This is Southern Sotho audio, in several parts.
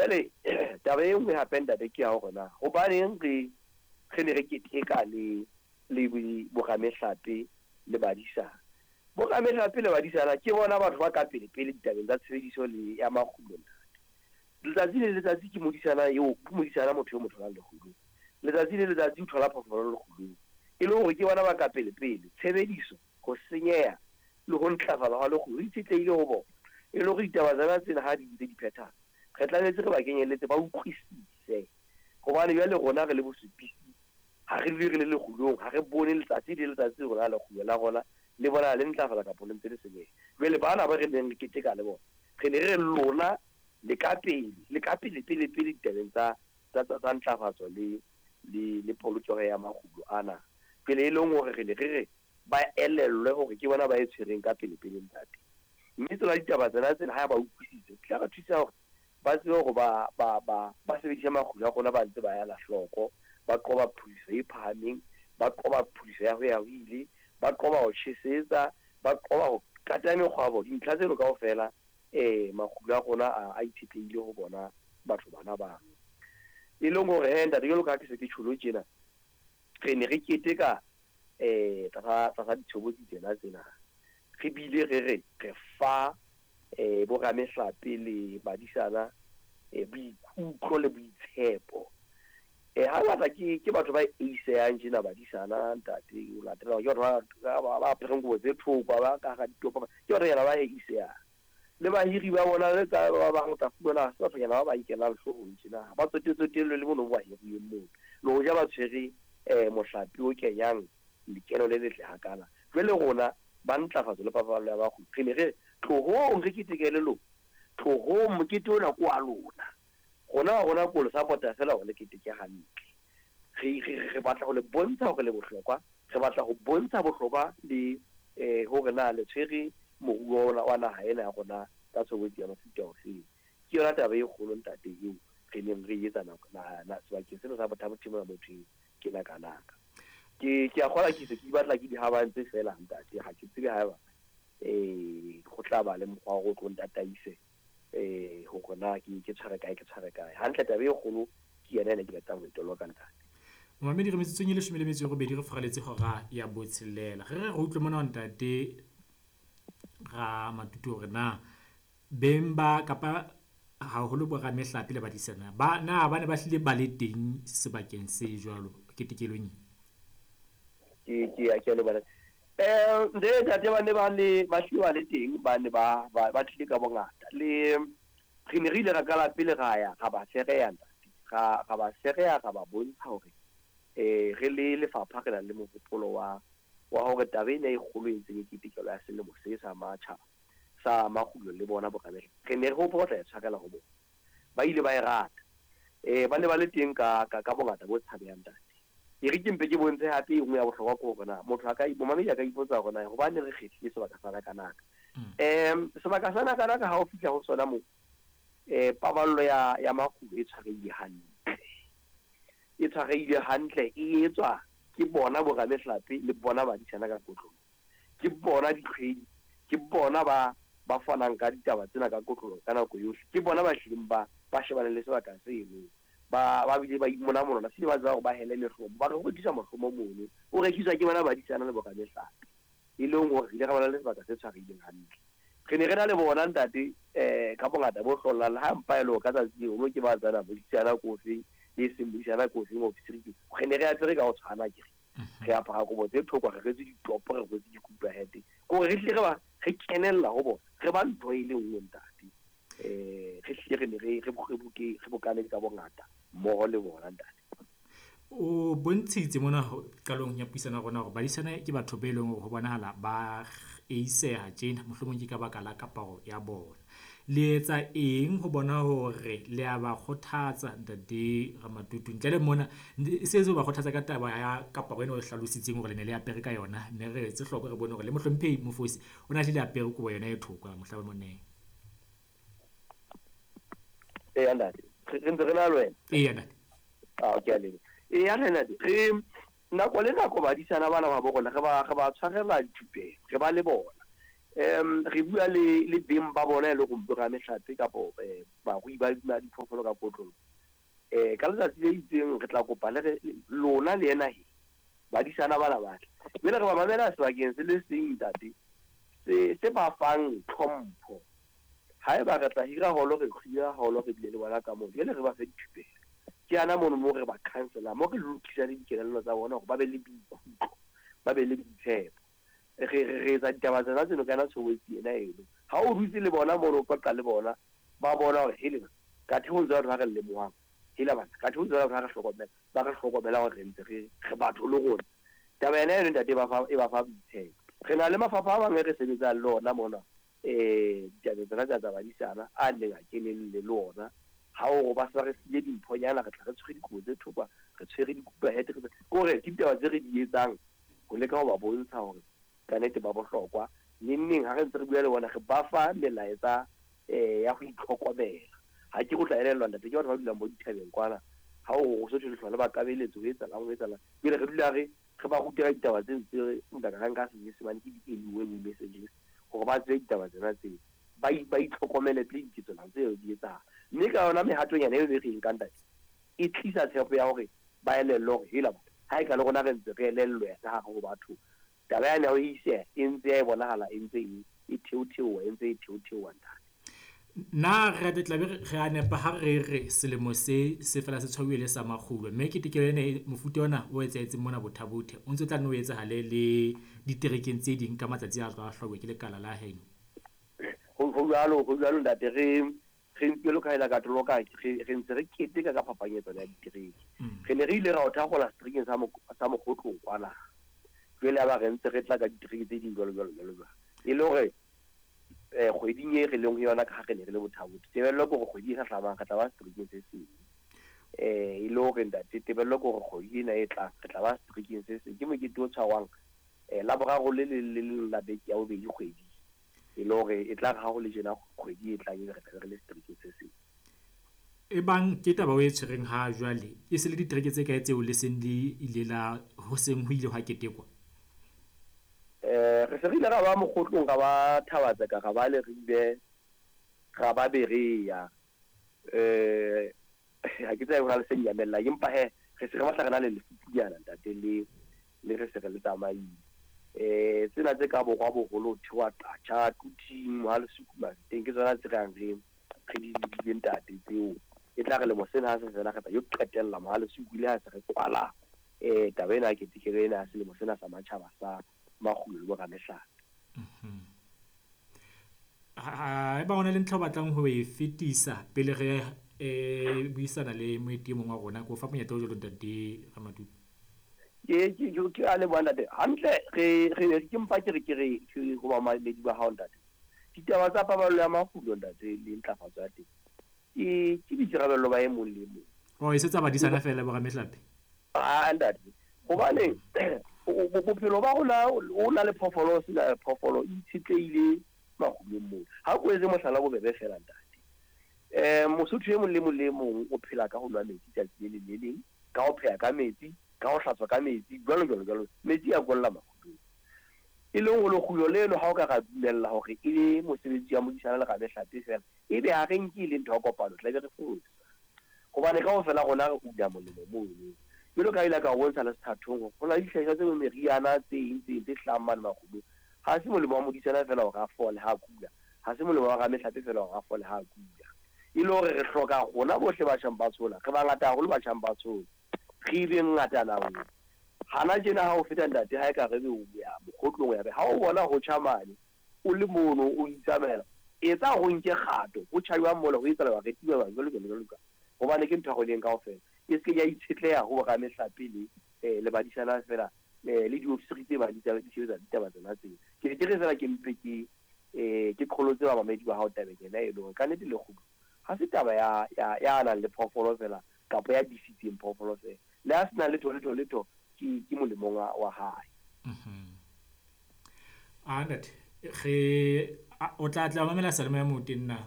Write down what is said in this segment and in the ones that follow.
Jwale taba e nngwe hape ntate ke ya hore na hobaneng re re ne re keteka le le boramehlape le badisana. Boramehlape le badisana ke bona batho ba ka pele pele ditabeng tsa tshebediso le ya makgulo ntate. Letsatsi le letsatsi ke modisana eo, ke modisana motho eo mo tholang lekgulong. Letsatsi le letsatsi o thola phoofolo lekgulong. E le hore ke bona ba ka pele pele tshebediso, ho senyeha le ho ntlafala hwa lekgulo ho itshetlehile ho bona. E le hore ditaba tsena tsena ha di ntse di phethahala, re tlametse re ba kenyelletse ba utlwisise. Hobane jwale rona re le bosupisi ha re dule re le lekgulong, ha re bone letsatsi le letsatsi rona lekgulo la rona le bona le ntlafala kapa le ntse le senyeha. Jwale bana ba re neng re keteka le bona, re ne re re lona le ka pele, le ka pele pele pele ditabeng tsa tsa tsa ntlafatso le le le polokeho ya makgulo ana. Pele e leng hore re ne re re ba elellwe hore ke bona ba e tshwereng ka pele pele ntate. Mme tsona ditaba tsena tsena ha ba utlwisise, di tla ba thusa hore ba tsebe hore ba ba ba ba sebedise makgulo a rona ba ntse ba ela hloko, ba qoba phudiso e phahameng, ba qoba phudiso ya ho ya ho ile, ba qoba ho tjhesetsa, ba qoba ho kata mekgwabo. Dintlha tseno kaofela makgulo a rona a a itshetlehile ho bona batho bana bano. E leng hore he ntate jwalo ka ha ke se ke tjholo tjena, re ne re keteka tlasa tlasa ditshobotsi tsena tsena. Re bile re re re fa boramehlape le badisana boikutlo le boitshepo. Hangata ke ke batho ba eisehang tjena badisana ntate o latela hore ke batho ba ba apereng kobo tse thokwa ba ka hara ditopo, ke bathonyana ba eisehang. Le bahiri ba bona le tsa ba bang o tla fumana ha se bathonyana ba ba nkelang hloohong tjena, ha ba tsotetsotellwe le mono mo ba hiruweng mono. Le hoja ba tshwere mohlape o kenyang lekeno le letle hakana. Jwale rona ba ntlafatso le paballo ya bakgwebi re ne re re tlohong re keteke le lona, tlohong mokete ona ke wa lona. Rona wa rona ke ho le support-a feela hore le keteke hantle. Re re re batla ho le bontsha hore le bohlokwa, re batla ho bontsha bohlokwa le hore na le tshwere moruo ona wa naha ena ya rona ka tshobotsi ya mofuta ofeng. Ke yona taba e kgolo ntate eo re neng re e etsa nako na sebakeng sena sa Botha-Bothe mona mo thweng ke Nakanaka. Ke ke a kgolwa ke se ke batla ke di habantse feela ntate, ha ke tsebe haeba go tla ba le mokgwa wa hore o tlo ntataise hore na ke ke tshware kae ke tshware kae. Hantle taba e kgolo ke yona ena ke batlang ho e toloka ntate. Momamedi re metsotsong e 18 re furaletse hora ya botshelela. Re re re utlwe mona ho ntate Ramatutu hore na beng ba kapa haholo bo ramehlape le badisana ba na ba ne ba hlile ba le teng sebakeng se jwalo ketekelong e? Ke ke ya ke a leboha. Ntate ntate ba ne ba le ba hlile ba le teng, ba ne ba ba ba tlile ka bongata. Le re ne re ile ra qala pele ra ya ra ba fereya ntate. Ra ra ba fereya ra ba bontsha hore re le lefapha re na le mohopolo wa wa hore taba ena e kgolo e ntseng e ketekelwa ya selemo se sa matjhaba sa makgulo le bona boramehlape, re ne re hopola ho tla e tshwarela ho bona. Ba ile ba e rata. Ba ne ba le teng ka ka ka bongata bo tshabehang ntate. E re ke mpe ke bontshe hape e nngwe ya bohlokwa ke hore na motho a ka momamedi a ka ipotsa hore na hobaneng re kgethile sebaka sa Nakanaka. Sebaka sa Nakanaka ha o fihla ho sona moo, paballo ya ya makgulo e tshwarehile hantle. E tshwarehile hantle e etswa ke bona boramehlape le bona badisana ka kotloloho. Ke bona ditlhwedi, ke bona ba ba fanang ka ditaba tsena ka kotloloho ka nako yohle. Ke bona ba hlileng ba ba shebaneng le sebaka seno. Ba ba bile ba imonamonona se ba tseba hore ba hele mehlomo. Ba re ho rekiswa mohlomo mono, o rekiswa ke bona badisana le boramehlape. E leng hore re ile ra bona le sebaka se tshwarehileng hantle. Re ne re na le bona ntate ka bongata bo hlollang le ha mpa e le hore ka tsatsi leo mo ke ba tsena modisana ke ofeng le e seng modisana ke ofeng ofisiri ke re ne re apere ka ho tshwana akere. Re apara kobo tse thokwa, re rwetse ditopo, re rwetse dikupa-hete. Ke hore re hlile re ba re kenella ho bona, re ba ntho e le nngwe ntate. Re hlile re ne re re re bokane ka bongata mmoho le bona ntate. O bontshitse mona qalong ya puisano ya rona hore badisana ke batho be leng hore ho bonahala ba eiseha tjena, mohlomong ke ka baka la kaparo ya bona. Le etsa eng ho bona hore le a ba kgothatsa ntate Ramatutu? Ntle le mona, e se ho ba kgothatsa ka taba ya kaparo ena o hlalositseng hore le ne le apere ka yona. Ne re etse hloko re bone hore le mohlomphehi Mofosi o ne a hlile apere kobo yona e thokwa mohla moneng. Eya ntate, re ntse re na le wena. Eya ntate. Ah, ke a leboha. Eya ntate, re nako le nako badisana bana ba bo rona re ba re ba tshwarela dithupelo, re ba le bona. Re bua le beng ba bona e le gore boramehlape kapo barui ba diphoofolo ka kotlolo. Ka letsatsi le itseng re tla kopa le re lona le ena he badisana bana ba tle. Jwale re ba mamela sebakeng se le seng ntate, se ba fang tlhompho. Haeba re tla hira holo, re hira holo, re bile le bona ka moo, jwale re ba fe dithupelo. Ke ana mono mo re ba counsel-a, mo re lokisa le dikelello tsa bona hore ba be le boikutlo, ba be le boitshepo. Re etsa ditaba tsena tseno ka yona tshobotsi ena eno. Ha o dutse le bona mono, o qoqa le bona, ba bona hore hele kathe ho ntse batho ba re lemohang, hela bana kathe ho ntse batho ba re hlokomela, ba re hlokomela hore re ntse re batho le rona. Taba ena eno ntate e ba fa boitshepo. Re na le mafapha a mang e re sebetsang le ona mona, ditabeng tsena tsa badisana a neng a kenelle le ona. Ha o ba se ba re file dimphonyana, re tla re tshwere dikobo tse thopa, re tshwere dikupa hete, re kore ke ditaba tse re di etsang ho leka ho ba bontsha hore ka nnete ba bohlokwa. Neng neng ha re ntse re bua le bona, re ba fa melaetsa ya ho itlhokomela. Ha ke go tla elellwa ntate, ke batho ba dulang bo dithabeng kwana. Ha o so thwe le ba kabeletso, ho etsahalang, ho etsahalang. Jwale re dula re ba ruta ka ditaba tse ntse nka ka nka Senyesemane ke di-early warning messages, hore ba tsebe ditaba tsena tseo, ba itlhokomele pele diketswana tseo di etsahala. Mme ka yona mehatonyana eo e re e nkang ntate, e tlisa tshepo ya hore ba elellwe hore hela batho, ha e ka le rona re ntse re elellwe ka hare ho batho, taba yane ya ho iseha e ntse ya e bonahala, e ntse e theotheoha, e ntse e theotheoha ntate. Na re tla be re a nepa ha re re selemo se se fela se tshwauwe le sa makgulo, mme ketekelo ena mofuta ona o etsahetseng mona Botha-Bothe o ntse o tla nne o etsahale le diterekeng tse ding ka matsatsi a tla hlwauwa ke lekala la heno. Ho jwalo ntate, re jwalo ka ela katoloka, re ntse re keteka ka phapanyetsano ya ditereke. Re ne re ile ra o thakgola seterekeng sa Mokgotlong kwana. Jwale ya ba re ntse re tla ka ditereke tse ding jwalo jwalo jwalo jwalo. E le hore kgweding e re leng ho yona ka ha re ne re le Botha-Bothe, tebello ke hore kgwedi e hlahlamang re tla ba seterekeng se seng. E le hore ntate, tebello ke hore kgwedi ena e tlang re tla ba seterekeng se seng. Ke mokete o tshwarwang Laboraro le leng le leng la beke ya bobedi kgwedi. E le hore e tla re ha ho le tjena kgwedi e tlang ebe re tla be re le seterekeng se seng. E bang ke taba o e tshwereng ha jwale, e se le ditereke tse kae tseo le seng le ile la ho seng ho ile hwa ketekwa? Re se re ile ra ba Mokgotlong, ra ba Thabatseka, ra ba Leribe, ra ba Berea. Ha ke tsebe hore le se nyamellang, empa he re se re batla re na le lefupunyana ntate, le re se re le tsamaile. Tsena tse ka borwa boholo ho theoha Qacha, Quthing, Mohalesuku, Mafeteng, ke tsona tse re yang re di lebile ntate tseo. E tla re lemo sena ha se fela re tla yo qetella Mohalesuku le ha se re kwala taba ena ya ketekelo ena ya selemo sena sa matjhaba sa makgulo le boramehlape. Haeba ho na le ntlha o batlang ho e fetisa pele re buisana le moeti e mong wa rona, ke o fa monyetla o jwalo ntate Ramatupe. Ke a leboha ntate. Hantle re ke mpa ke re ke re ke ho bamamedi ba hao ntate. Ditaba tsa paballo ya makgulo ntate le ntlafatso ya teng ke boikarabello ba e mong le e mong. Oh, e se tsa badisana feela boramehlape? Ah ntate, hobane bophelo ba rona o na le phoofolo, o se na le phoofolo, e itshetlehile makgulong moo. Ha ko etse mohlala bobebe feela ntate. Mosotho e mong le mong le mong o phela ka ho nwa metsi tsatsi le leng le leng, ka ho pheha ka metsi, ka ho hlatswa ka metsi, jwalo jwalo jwalo. Metsi a kolla makgulong. E leng hore lekgulo leno ha o ka ra dumella hore e le mosebetsi wa modisana le ramehlape feela, ebe ha re nke e le ntho ya kopano, tla be re fosa. Hobane kaofela rona re una molemo mono. Jwalo ka ile ka o bontsha le sethathong, ho na le dihlahiswa tse meriana tse eng tse eng tse hlahang mane makgulong. Ha se molemo wa modisana feela hore a fole ha a kula, ha se molemo wa ramehlape feela hore a fole ha a kula. E le hore re hloka rona bohle batjhang ba tshola, re bangata haholo batjhang ba tshola, re be ngatana nngwe. Hana tjena ha o feta ntate, ha e ka re be o ya Mokgotlong, ya be ha o bona ho tjha mane, o le mono o itsamaela, etsa ho nke kgato, ho tjha jwang mola, ho etsahala re tiba jwang, jwalo jwalo jwalo jwalo. Hobane ke ntho ya rona kaofela. E se ke ya itshetleha ho boramehlape le badisana feela, le diofisiri tse bang di sebetsa ditaba tsena tseo. Ke ne ke re feela ke mpe ke qholotse bamamedi ba hao tabeng ena e le hore ka nnete lekgulo ha se taba ya nang le phoofolo feela kapa ya disitseng phoofolo feela. Le ha se na letho letho letho ke molemong wa hae. Ah ntate, re o tla tla mamela Salome ya Moteng na?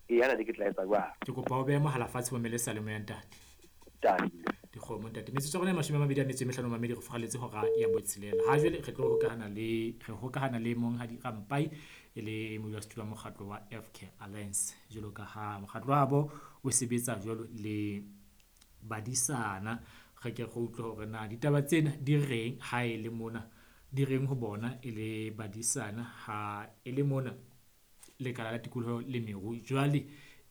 Ee, ana ke tla etsa jwang? Ke kopa o behe mohala fatshe, mamele Salome ya ntate. Tadi. Dikgomo kgomo ntate. Metsotso ya rona e 25 mamedi, re furaletse hora ya botshelela. Ha jwale re tlo hokahana le re hokahana le Monghadi Rampai e le modulasetulo wa mokgatlo wa FK Alliance. Jwalo ka ha mokgatlo wa bo o sebetsa jwalo le badisana, re ke re utlwe hore na ditaba tsena di reng ha e le mona, di reng ho bona e le badisana ha e le mona lekala la tikoloho le meru. Jwale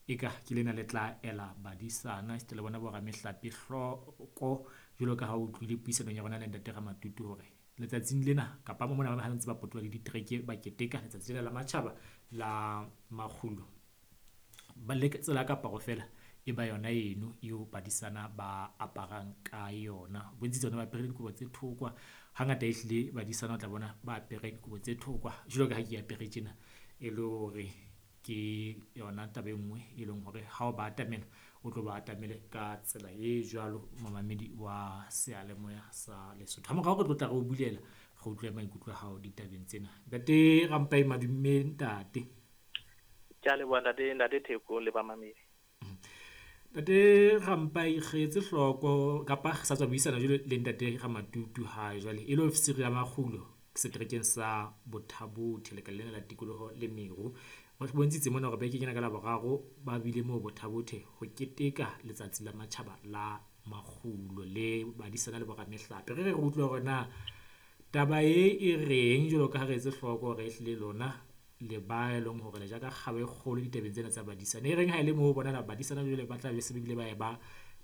eka ke lena le tla ela badisana esita le bona bo ramehlape hloko, jwalo ka ha o utlwile puisanong ya rona le ntate Ramatutu hore letsatsing lena kapa mona ba ntse ba potoloha le ditereke ba keteka letsatsi lena la matjhaba la makgulo. Ba le tsela ka kaparo feela e ba yona eno eo badisana ba aparang ka yona. Bontshitse hore ba apere dikobo tse thokwa. Hangata ehlile badisana o tla bona ba apere dikobo tse thokwa jwalo ka ha ke apere tjena, e le hore ke yona taba e nngwe e leng hore ha o ba atamela o tlo ba atamele ka tsela e jwalo, momamedi wa seyalemoya sa Lesotho. Ha morao re tlo tla re o bulela, re utlwe maikutlo a hao ditabeng tsena. Ntate Rampai, madume ntate. Ke a leboha ntate, ntate Theko le bamamedi. Ntate Rampai, re etse hloko kapa re sa tswa buisana jwale le ntate Ramatutu ha jwale e le ofisiri ya makgulo seterekeng sa Botha-Bothe, lekala lena la tikoloho le meru. Ba bontshitse mona hore beke kena ka Laboraro ba bile moo Botha-Bothe ho keteka letsatsi la matjhaba la makgulo le badisana le boramehlape. Re re utlwe hore na taba e e reng, jwalo ka ha re etse hloko hore ehlile lona le ba e leng hore le ja ka kgaba e kgolo ditabeng tsena tsa badisana. E reng ha e le moo bona badisana jwale ba tla be se bile ba e ba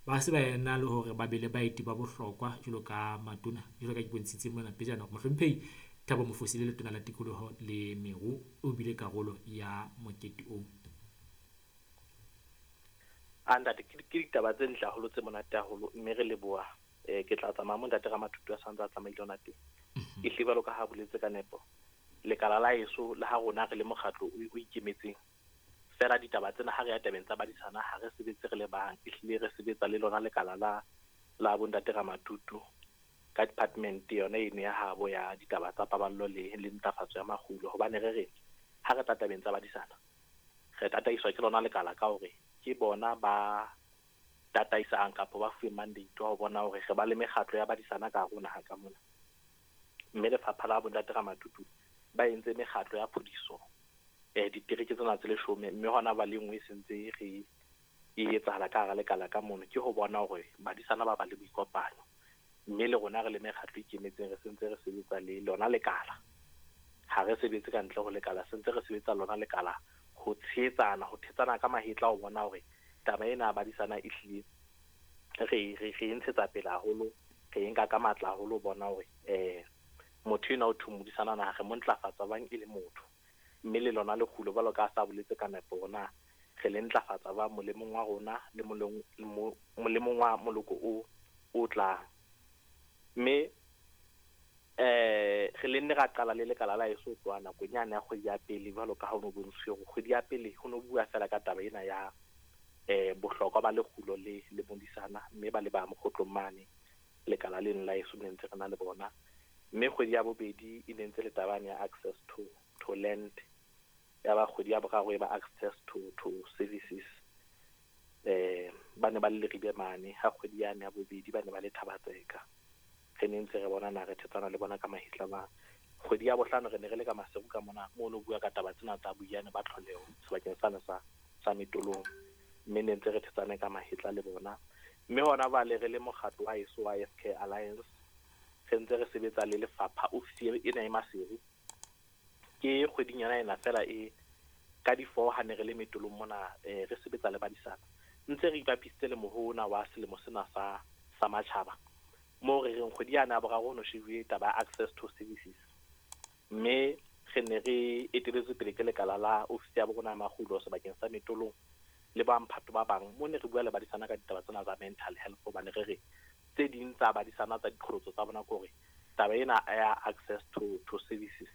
ba se ba ena le hore ba be le baeti ba bohlokwa jwalo ka matona, jwalo ka ke bontshitse mona pejana hore mohlomphehi Thabo Mofosi le letona la tikoloho le meru o bile karolo ya mokete oo. A ntate, ke ditaba tse ntle haholo, tse monate haholo, mme re leboha. Ke tla tsamaya mo ntate Ramatutu a santse a tsamaile hona teng. E hlile jwalo ka ha boletse ka nepo, lekala la heso le ha rona re le mokgatlo o ikemetseng fela, ditaba tsena ha re ya tabeng tsa badisana ha re sebetse re le bang, ehlile re sebetsa le lona lekala la bo ntate Ramatutu ka department yona eno ya habo ya ditaba tsa paballo le ntlafatso ya makgulo. Hobane re re ha re tla tabeng tsa badisana re tataiswa ke lona lekala ka hore ke bona ba tataisang kapa ba fuwe mandate wa ho bona hore re ba le mekgatlo ya badisana ka hare ho naha ka mona. Mme lefapha la bo ntate Ramatutu ba entse mekgatlo ya phodiso ditereke tsena tse 10, mme hona ba le nngwe e sentse re e etsahala ka hara lekala ka mono, ke ho bona hore badisana ba ba le boikopanyo. Mme le rona re le mekgatlo e ikemetseng re sentse re sebetsa le lona lekala, ha re sebetse ka ntle ho lekala, sentse re sebetsa lona lekala ho tshehetsana, ho thetsana ka mahetla ho bona hore taba ena ya badisana e hlile re e ntshetsa pele haholo, re e nka ka matla haholo ho bona hore motho enwa o thwe modisana na re mo ntlafatsa bang e le motho. Mme le lona lekgulo jwalo ka ha sa boletse ka nepo hore na re le ntlafatsa ba molemong wa rona le molemong wa moloko o tlang. Mme re le nne ra qala le lekala la heso ho tloha nakong yane ya kgwedi ya pele, jwalo ka ha ho no bontshuwe hore kgwedi ya pele ho no bua fela ka taba ena ya bohlokwa ba lekgulo le modisana, mme ba le ba mokgotlong mane lekala leno la heso ne ntse re na le bona. Mme kgwedi ya bobedi e ne ntse le taba ya access to land, ya ba kgwedi ya boraro e ba access to services. Ba ne ba le Leribe mane, ha kgwedi yane ya bobedi ba ne ba le Thabatseka. Re ne ntse re bona na re thetsana le bona ka mahetla ba. Kgwedi ya bohlano re ne re le ka Maseru ka mona, moo no bua ka taba tsena tsa boiyane ba tlholeho sebakeng sane sa Metolong, mme ne ntse re thetsane ka mahetla le bona. Mme hona jwale re le mokgatlo wa heso wa FK Alliance re ntse re sebetsa le lefapha ofisi ena e Maseru. Ke kgweding yona ena fela e ka di-4 ha ne re le Metolong mona, re sebetsa le badisana, ntse re ipapisitse le mohona wa selemo sena sa matjhaba, moo re reng kgwedi yana ya boraro ho no shebuwe taba ya access to services. Mme re ne re eteletswe pele ke lekala la ofisi ya bo rona ya makgulo sebakeng sa Metolong le ba mphato ba bang, mo ne re bua le badisana ka ditaba tsena tsa mental health, hobane re re tse ding tsa badisana tsa diqholotso tsa bona ke hore taba ena ya access to services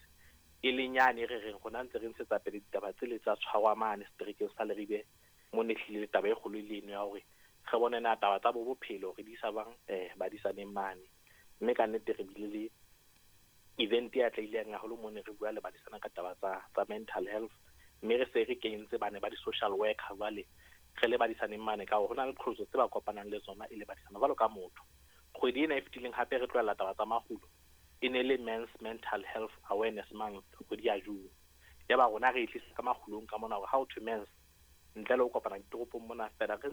e leng yane re reng rona ntse re ntshetsa pele ditaba tsele tsa tshwarwa mane seterekeng sa Leribe, mo ne hlile taba e kgolo e le eno ya hore re bone na taba tsa bo bophelo re di isa bang badisaneng mane. Mme ka nnete re bile le event e atlehileng haholo mo ne re bua le badisana ka taba tsa mental health, mme re se re kentse bane ba di-social worker jwale Re le badisaneng mane ka hore ho na le qholotso tse ba kopanang le tsona e le badisana jwalo ka motho. Kgwedi ena e fetileng hape re tlohella taba tsa makgulo, e ne le Men's Mental Health Awareness Month, kgwedi ya June. Yaba rona re e tlisa ka makgulong ka mona hore ha ho thwe men's, ntle le ho kopana ditoropong mona fela re